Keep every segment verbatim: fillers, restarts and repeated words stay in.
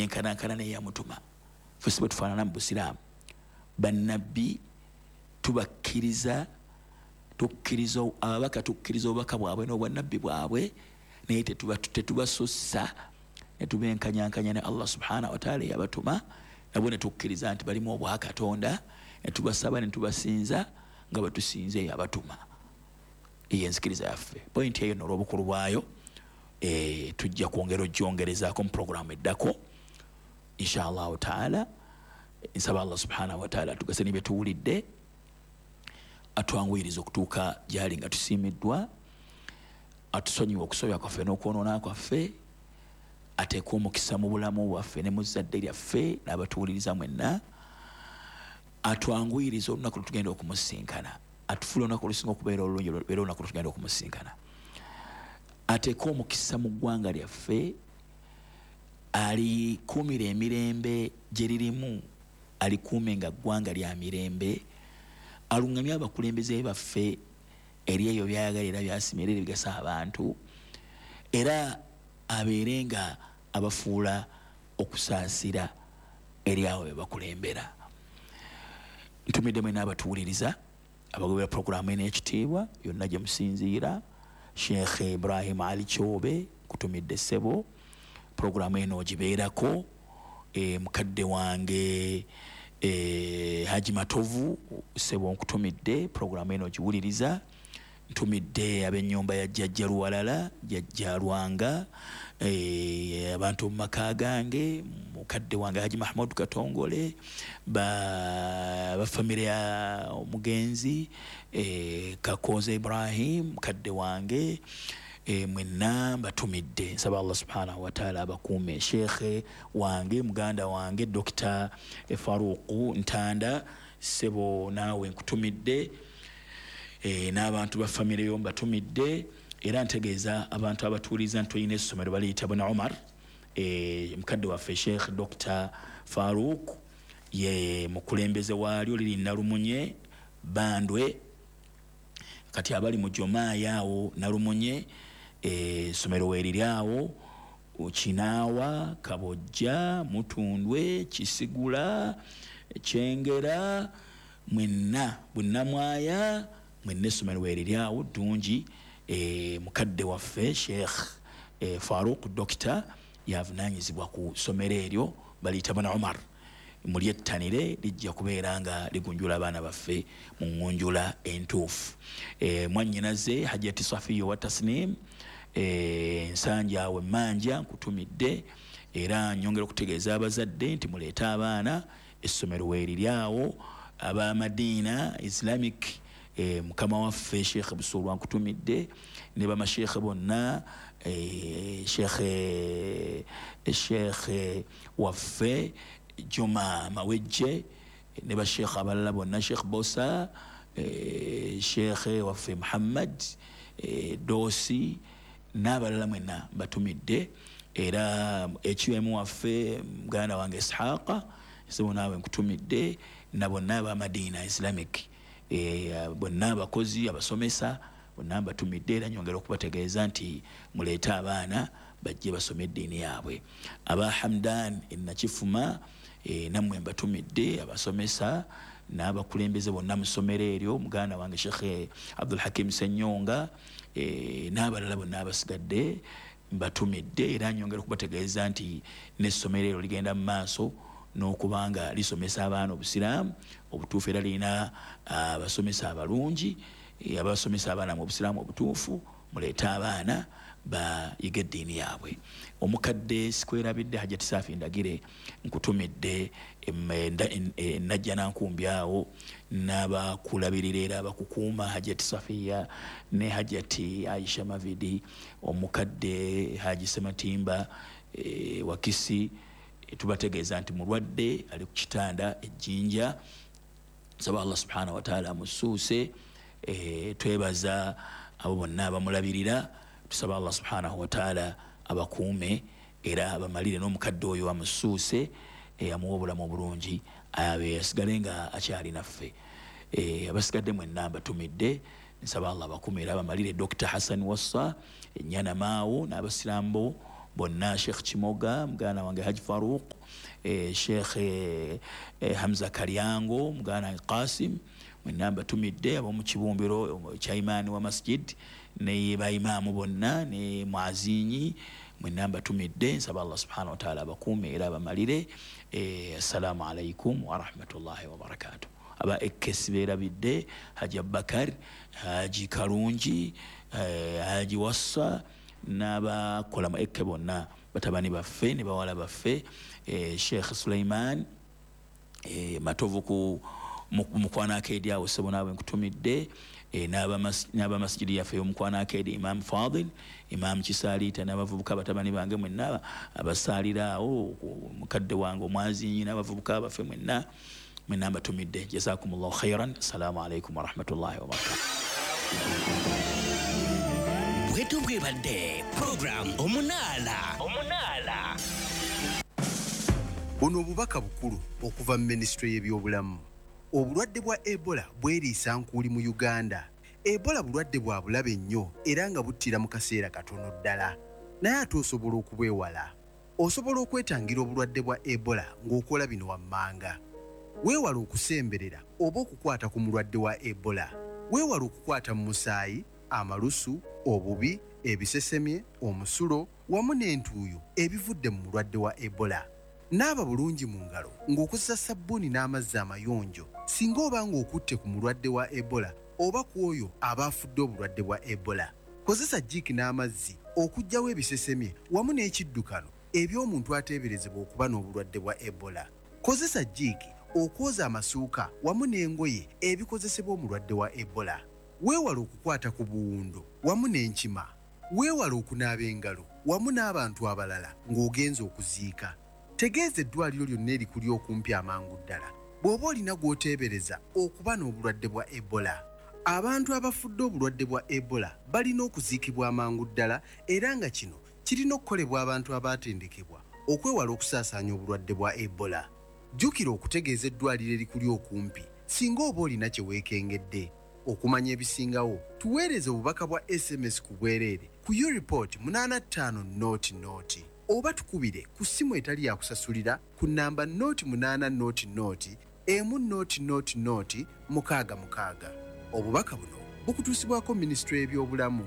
Neyenkanankana neyamutuma. Ffe si bwe tufaanana mu busiraamu. Bannabbi tubakkiriza, tukkiriza ababaka, tukkiriza obubaka bwabwe n'obwannabbi bwabwe, naye tetubasussa ne tubenkanyankanya ne Allah subhanahu wa ta'ala yabatuma, nabo ne tukkiriza nti balimu obwakatonda, ne tubasaba ne tubasinza nga batusinze yabatuma. Eyo enzikiriza yaffe. Pointi eyo n'olw'obukulu bwayo e, tujja kwongera ogyongerezaako mu puroguramu eddako inshallah taala. Nsaba Allah subhanahu wa ta'ala tugase ne byetuwulidde, atwanguyiriza okutuuka gyali nga tusiimiddwa, atusonyiwe okusobya kwaffe n'okwonoona kwaffe, ateeke omukisa mu bulamu bwaffe ne mu zzadde lyaffe n'abatuwuliriza mwenna, atwanguyirize olunaku lwe tugenda okumusinkana, atufuule olunaku olusinga okubeera olulungi era olunaku lwe tugenda okumusinkana, ateeke omukisa mu ggwanga lyaffe, alikuumira emirembe gye lirimu, alikuume nga ggwanga lya mirembe, aluŋŋamye abakulembeze baffe eri ebyo by'ayagala era by'asiima era ebigasa abantu, era abeere nga abafuula okusaasira eri abo be bakulembera. Ntumidde mwenna abatuwuliriza abagobera puroguramu eno ekitiibwa yonna gye musinziira. Sheikh Ibrahim Ali Kyobe nkutumidde ssebo, puroguramu eno ogibeerako. E, mukadde wange e, Haji Matovu ssebo nkutumidde, puroguramu eno ogiwuliriza. Ntumidde ab'ennyumba ya Jjajja Luwalala, Jjajja Lwanga, e, abantu mu maka gange, mukadde wange Haji Mahmud Katongole, ba bafamire ya omugenzi e, Kakoze Ibrahim mukadde wange, e, mwenna mbatumidde. Nsaba Allah subhanahu wa ta'ala abakuume. Sheikh wange muganda wange Dokita Faruku Ntanda ssebo naawe nkutumidde, e, n'abantu ba famire yo mbatumidde. Era ntegeeza abantu abatuuliza nti tulina essomero baliyita Buna Umar, e, mukadde waffe Sheikh Dokita Faruk ye mukulembeze waalyo, liri Nalumunye Bandwe, kati abali mu Jomaaya awo Nalumunye, essomero weeriri awo Kinaawa, Kabojja, Mutundwe, Kisigula, Kyengera, mwenna Bunnamwaya, mwenna essomero weeriri awo ddungi. E, mukadde waffe Sheikh e, Faruk Dokita yavunaanyizibwa ku ssomero eryo baliyita Buna Umar. Mulyettanire, lijja kubeera nga ligunjula abaana baffe mu ŋŋunjula entuufu. E, mwannyinaze Hajjati Safiya wa Tasnim, e, Nsanja awo emmanja nkutumidde. Era nyongera okutegeeza abazadde nti muleete abaana, essomero weeriri awo. Aba Madina Islamic, e, mukama waffe Sheikh Busulwa nkutumidde ne bamasheikh bonna, e, Sheikh Sheikh waffe Juma Mawejje ne basheikh abalala bonna, Sheikh Bosa, e, Sheikh waffe Muhammad e, Dosi n'abalala mwenna mbatumidde. Era H M waffe muganda wange Ishaqa ssebo naawe nkutumidde, na bonna aba Madina Islamic, e, bonna abakozi abasomesa bonna mbatumidde. Era nyongera okubategeeza nti muleete abaana bajje basome eddiini yaabwe. Aba Hamdan Enakifuma, e, nammwe mbatumidde, abasomesa n'abakulembeze bonna mu ssomero eryo, muganda wange Sheikh Abdul Hakim Senyonga, e, n'abalala bonna abasigadde mbatumidde. Era nyongera okubategeeza nti n'essomero eryo ligenda mu maaso n'okubanga lisomesa abaana obusiraamu obutuufu, era lirina abasomesa abalungi abasomesa abaana mu busiraamu obutuufu. Muleete abaana bayiga eddiini yaabwe. Omukadde sikwerabidde, Hajati Saafi Ndagire nkutumidde, Najja Nankumbi awo n'abakulabirira era abakukuuma, Hajati Safiya ne Hajati Aisha Mavidi, omukadde Haji Sematimba e, Wakisi, e, tubategeeza nti mulwadde ali ku kitanda ejjinja. Nsaba Allah subhanahu wataala amusuuse. e, twebaza abo bonna abamulabirira, tusaba Allah subhanahu wataala abakuume era abamalire n'omukadde oyo amusuuse, e, amuwa obulamu obulungi, abe asigale nga akyali naffe. e, abasigadde mwenna mbatumidde, nsaba Allah abakuume era abamalire. Dokita Hassan Wassa Ennyana Maawo n'abasiraamu Bonna, Sheikh Kimoga muganda wange, Haji Faruq, eh, Sheikh eh, eh, Hamza Kalyango muganda wange, Qasim, mwenna mbatumidde. Ab'omu kibumbiro kya imaani wa masjid ne baimaamu bonna ne mwazinyi, mwenna mbatumidde. Nsaba Allah subhanahu wa ta'ala abakuume era abamalire. eh, assalamu alaikum warahmatullahi wabarakatuh. Aba ekesi beerabidde, Haji Abubakar, Haji Kalungi, eh, Haji Wassa n'abakola mu ekke bonna, batabani baffe ne bawala baffe, eh, Sheikh Suleiman eh, Matovu ku Mukwano Arcade awo, ssebo naawe nkutumidde, eh, n'abamasjidi yaffe y'Omukwano Arcade, Imam Fadil, Imam Kisaliita n'abavubuka batabani bange mwenna abasaalira awo, mukadde wange omwazinyi n'abavubuka baffe mwenna, mwenna mbatumidde. Jazakumullahu khairan. Assalamu alaikum warahmatullahi wabarakatuh. Bwetu bwebadde program Omunaala. Omunaala. Buno obubaka bukulu okuva mu minisitule y'ebyobulamu. Obulwadde bwa Ebola bweriisa nkuuli mu Uganda. Ebola bulwadde bwa bulabe nnyo era nga buttira mu kaseera katono ddala, naye ate osobola okubwewala. Osobola okwetangira obulwadde bwa Ebola ng'okola bino wammanga: weewala okusemberera oba okukwata ku mulwadde wa Ebola. Weewala okukwata mu musaayi, amalusu, obubi, ebisesemye, omusulo wamu n'entuuyo ebivudde mu mulwadde wa Ebola. Naaba bulungi mu ngalo ng'okozesa sabbuuni n'amazzi amayonjo singa oba ng'okutte ku mulwadde wa Ebola oba ku oyo aba afudde obulwadde bwa Ebola. Kozesa jiiki n'amazzi okuggyawo ebisesemye wamu n'ekiddukano eby'omuntu ateeberezebwa okuba n'obulwadde bwa Ebola. Kozesa jiiki okwoza amasuuka wamu n'engoye ebikozesebwa omulwadde wa Ebola. Weewala okukwata ku buwundo wamu n'enkima. Weewala okunaaba engalo wamu n'abantu abalala ng'ogenza okuziika. Tegeeza eddwaliro lyonna erikuli okumpi amangu ddala bw'oba olina gw'oteebereza okuba n'obulwadde bwa Ebola. Abantu abafudde obulwadde bwa Ebola balina okuziikibwa amangu ddala, era nga kino kirina okukolebwa abantu abaatendekebwa okwewala okusaasaanya obulwadde bwa Ebola. Jjukira okutegeeza eddwaliro erikuli okumpi singa oba olina kye weekengedde. Okumanya ebisingawo, tuweereze obubaka bwa S M S ku bwereere ku Ureport munaana ttaano nought nought oba tukubire ku ssimu etali yakusasulira ku namba nought munaana nought nought emu nought nought nought mukaaga mukaaga. Obubaka buno bukutuusibwako minisitule y'ebyobulamu.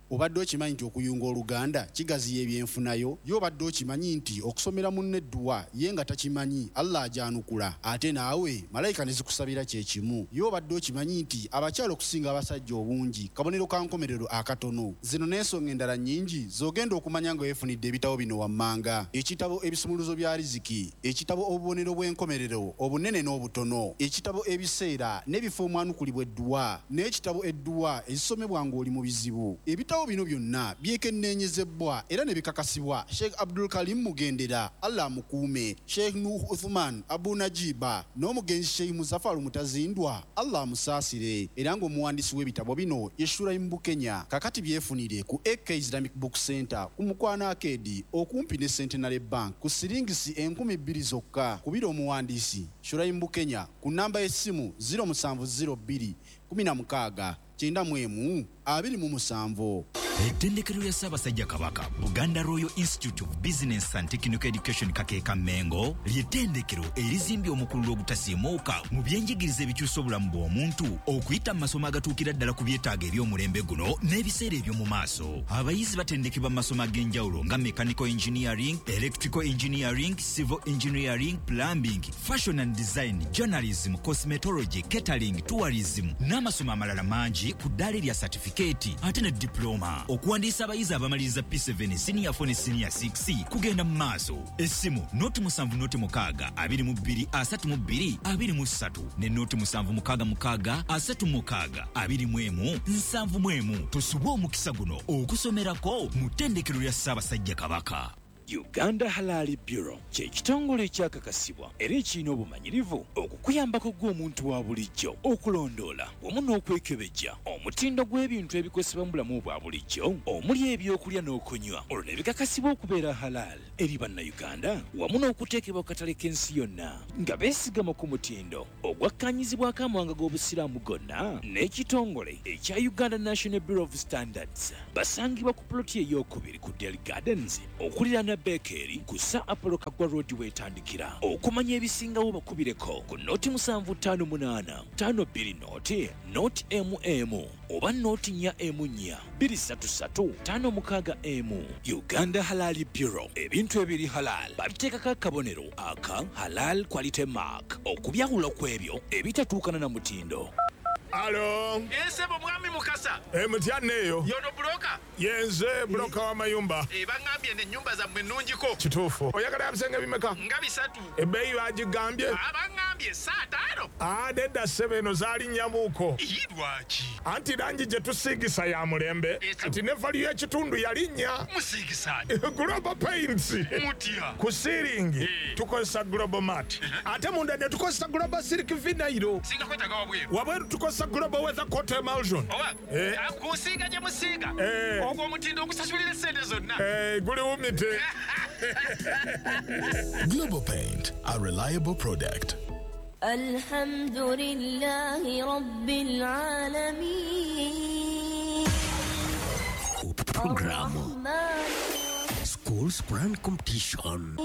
Obadde okimanyi nti okuyunga oluganda kigaziya ebyenfunayo? Ye obadde okimanyi nti okusomera munno edduwa ye nga takimanyi, Allah agyanukula, ate naawe malayika ne zikusabira kyekimu? Ye obadde okimanyi nti abakyala okusinga abasajja obungi kabonero ka nkomerero akatono? Zino n'ensonga endala nnyingi z'ogenda okumanya nga weefunidde ebitabo bino wammanga: ekitabo Ebisumuluzo bya Riziki, ekitabo Obubonero bw'Enkomerero Obunene n'Obutono, ekitabo Ebiseera n'Ebifo Omwanukulibwa Edduwa, n'ekitabo Edduwa Ezisomebwa Ng'oli mu Bizibu. Ebitabo bino byonna byekenneenyezebwa era ne bikakasibwa Sheikh Abdul Karim Mugendera, Allah amukuume, Sheikh Nuh Uthman Abu Najiba n'omugenzi Sheikh Muzafaru Mutazindwa, Allah amusaasire, era ng'omuwandiisi w'ebitabo bino ye Shuraim Bukenya. Kakati byefunire ku A K Islamic Book Center ku Mukwano Arcade okumpi ne Centenary Bank ku siringisi enkumi bbiri zokka. Kubira omuwandiisi Shuraim Bukenya ku namba y'essimu zero musanvu zero bbiri kumi na mukaaga kyenda mu emu abiri mu musanvu. Ettendekero lya Ssaabasajja Kabaka, Buganda Royal Institute of Business and Technical Education, Kakeeka Mengo, ly'ettendekero erizimbye omukululo ogutasiimuuka mu byenjigiriza ebikyusa obulamu bw'omuntu okuyita mu masomo agatuukira ddala ku byetaago eby'omulembe guno n'ebiseera eby'omu maaso. Abayizi batendekebwa mu masomo ag'enjawulo nga mechanical engineering, electrical engineering, civil engineering, plumbing, fashion and design, journalism, cosmetology, catering, tourism n'amasomo amalala mangi ku ddaala erya satifikeeti ate ne diploma. Okuwandiisa abayizi abamaliriza P seven, senior four ne senior six kugenda mu maaso. Essimu nought musanvu nought mukaaga abiri mu bbiri asatu mu bbiri abiri mu ssatu ne nought musanvu mukaaga mukaaga asatu mukaaga abiri mu emu nsanvu mu emu. Tusubwe omukisa guno okusomerako mu ttendekero lya Ssaabasajja Kabaka. Uganda Halal Bureau kye kitongole ekyakakasibwa era ekirina obumanyirivu okukuyambako gw'omuntu wa bulijjo okulondoola wamu n'okwekebejja omutindo gw'ebintu ebikozesebwa mu bulamu bwa bulijjo omuli ebyokulya n'okunywa, olwo ne bikakasibwa okubeera halal eri Bannayuganda wamu n'okuteekebwa ku katale k'ensi yonna nga beesigama ku mutindo ogwakkaanyizibwako amawanga g'Obusiraamu gonna n'ekitongole ekya Uganda National Bureau of Standards. Basangibwa ku ploti ey'okubiri ku Del Gardens okuliraana Bekeri ku Sir Apollo Kaggwa Road weetandikira. Okumanya ebisingawo bakubireko ku noti musanvu ttaano munaana ttaano bbiri noti noti emu emu oba noti nnya emu nnya bbiri ssatu ssatu ttaano mukaaga emu. Uganda Halal Bureau, ebintu ebiri halal babiteekako akabonero aka Halal Quality Mark okubyawula ku ebyo ebitatuukana na mutindo. Alo. Esebo mwami Mukasa. E mutya neyo. Yono broker. Yenze broker wa mayumba. E bangambye ne nyumba za mwe nnungiko. Kituufu. Oyagala ebisenge bimeka? Nga bisatu. Ebbeeyi bagigambye? Abangambye saa ttaano. Ah, nedda ssebo eno zaali nnyamuuko. Ii lwaki? Anti langi gye tusiigisa ya mulembe. Kati ne value y'ekitundu yalinnya. Musiigisa. Global Paints. Mutya. Ku siiringi tukozesa Global Mat. Ate munda ne tukozesa Global Silk Vinyl. Singa kwetaaga wabweru. Wabweru tukozesa Global Weather Coat Emulsion. Owa. Eh. Kusiiga gye musiiga. Eh. Ogwo omutindo ogusasulira essente zonna. Eh, guli wumite. Global Paint, a reliable product. الحمد لله رب العالمين. Program Schools Brand Competition.